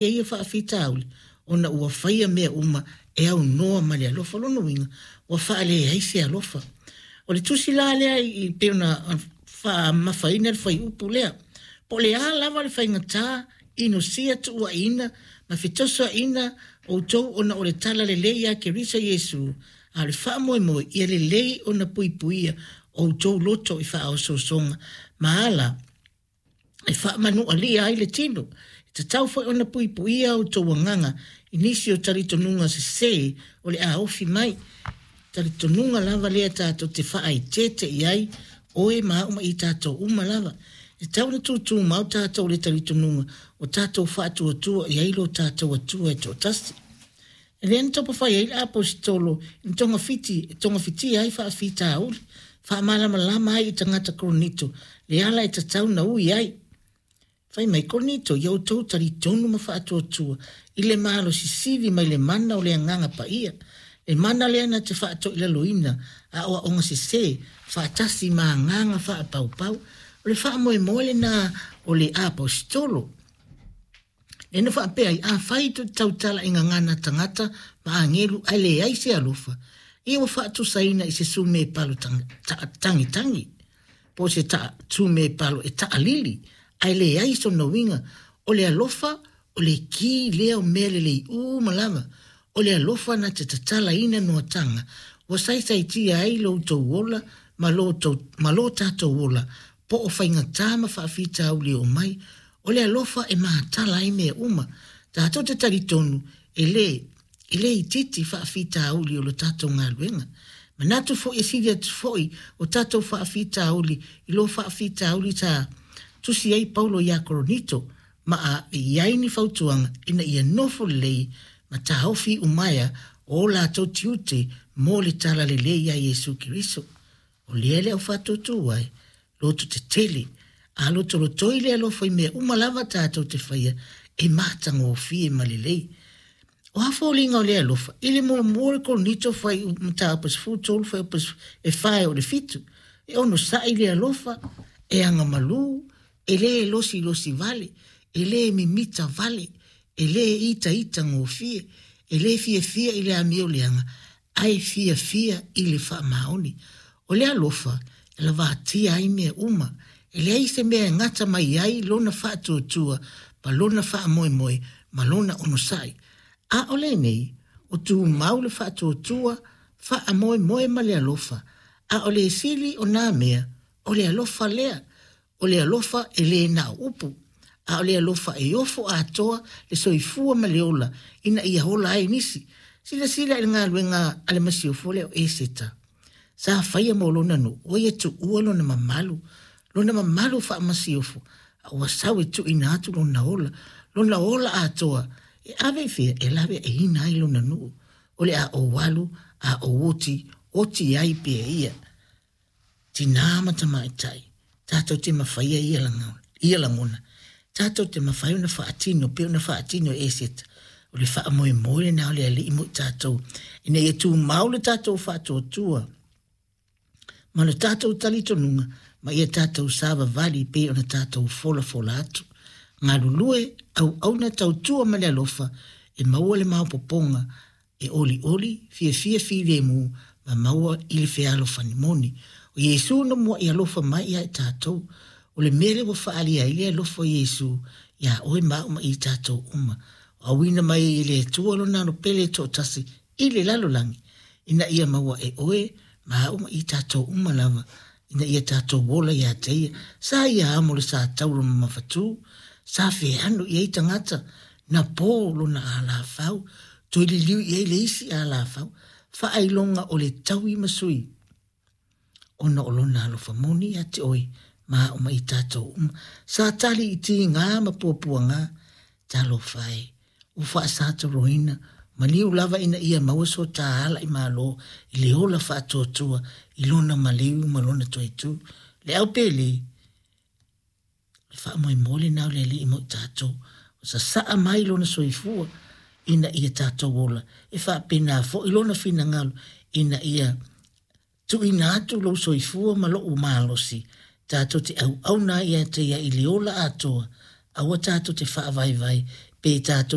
Ia faafitauli ona ua faia mea uma e aunoa ma le alofa. O lona uiga, ua faaleai se alofa. O le tusi la lea i pei ona faamamafaina le fuaiupu lea, po o le a lava le faigata, inosia, tuuaiina ma fetosoaina outou ona o le tala lelei ia Keriso Iesu, a o le faamoemoe ia lelei ona puipuia outou loto i faaosoosoga ma ala e faamanualia ai le tino. E tatau foi ona puipuia outou agaga i nisi o talitonuga sesē o le a ofi mai. Talitonuga lava lea tatou te faaeteete i ai, oe ma au ma i tatou uma lava. E tatau ona tutumau tatou i le talitonuga ua tatou faatuatua i ai lo tatou Atua e toatasi. Lea na taumafai ai le Aposetolo i na togafiti e togafitia ai faafitauli, faamalamalama ai i tagata Korinito le ala e tatau na ui ai. Fai mai, Korinito, ia outou talitonu ma faatuatua i le malosi sili mai le mana o le Agaga Paia, le mana lea na te faatoilaloina aoaoga sesē faatasi ma agaga faapaupau. O le faamoemoe lena o le Aposetolo. Lea na faapea ai, Afai tou te tautala i gagana tagata ma agelu ae leai se alofa, ia ua faatusaina i se sumepalo tagitangi, po o se sumepalo e taalili ae leai sona uiga. O le alofa, o le ki lea o mea lelei uma lava. O le alofa na te tatalaina noataga ua saisaitia ai lo outou ola ma lo, ma lo tatou ola, po o faigata ma faafitauli e oo mai. O le alofa e matala ai mea uma. Tatou te talitonu e lē e lē itiiti faafitauli o lo tatou galuega. Manatu foi e sili atu foi o tatou faafitauli i lo faafitauli sa tusi ai Paulo iā Koronito ma ave i ai ni fautuaga ina ia nofo lelei ma taofi iumaea o latou tiute mo le Tala Lelei ia Iesu Keriso. O lea le au faatuatua e loto tetele, a lotolotoi le alofa i mea uma lava tatou te faia e matagofie ma lelei. O a foliga o le alofa? I le muamua o le Korinito fuaiupu mataupu e 13 fuaiupu e 4 e oo i le 7, e onosai le alofa, e agamalu, e lē losilosi vale, e lē mimita vale, e lē itaita gofie, e lē fiafia i le amio leaga, ae fiafia i le faamaoni. O le alofa e lavatia ai mea uma, e leai se mea e gata mai ai lona faatuatua ma lona faamoemoe ma lona onosai. A o lenei, o tumau le faatuatua, faamoemoe ma le alofa, a o le sili o nā mea, o le alofa lea. O le alofa e lē na o upu, a o le alofa e ofo atoa le soifua ma le ola ina ia ola ai nisi. Silasila i le galuega a le masiofo lea o Eseta. Sa faia mo lona nuu, ua ia tuua lona mamalu, lona mamalu faamasiofo, a ua sau e tuuina atu lona ola, lona ola atoa, e ave i fea? E lawe e ina ai lona nuu. O le a ou alu, a ou oti, oti ai pea ia. Tinā ma tamaitai, tatou te mafaia ia ia lagona. Tatou te mafai ona faatino pei ona faatino e Eseta. O le faamoemoe lena o le Alii mo i tatou, ina ia tumau le tatou faatuatua ma lo tatou talitonuga ma ia tatou savavali pei ona tatou folafola atu. Galulue, auauna, tautua ma le alofa e maua le maopoopoga e olioli, fiafia filemu ma maua i le fealofani moni. O Iesu na muaʻi alofa mai iā i tatou. O le mea lea ua faaalia ai le alofa o Iesu iā oe ma au ma i tatou uma. Ua auina mai ai e le Atua lona Alo Pele e toatasi i le lalolagi, ina ia maua e oe ma au ma i tatou uma lava, ina ia tatou ola iā te ia. Sa ia amo le sa taura mamafatū, sa feano i ai tagata, na pō lona alafau, toe liliu i ai le isi alafau, faailoga o le taui ma sui, ona o lona alofa moni ia te oe ma au ma i tatou uma. Sa tali i tigā ma puapuagā, talofa e, ua faasatoloina, maliu lava ina ia maua so tā ala i Malo i le ola faatuatua i lona maliu ma lona toetū. Le au pele, O le faamoemoe lena o le Alii mo i tatou, ua sasaa mai lona soifua ina ia tatou ola, e faapena foi lona finagalo ina ia tuuina atu lou soifua ma lou malosi, tatou te auauna ai ia te ia i le ola atoa, aua tatou te faavaevae Pe tatou.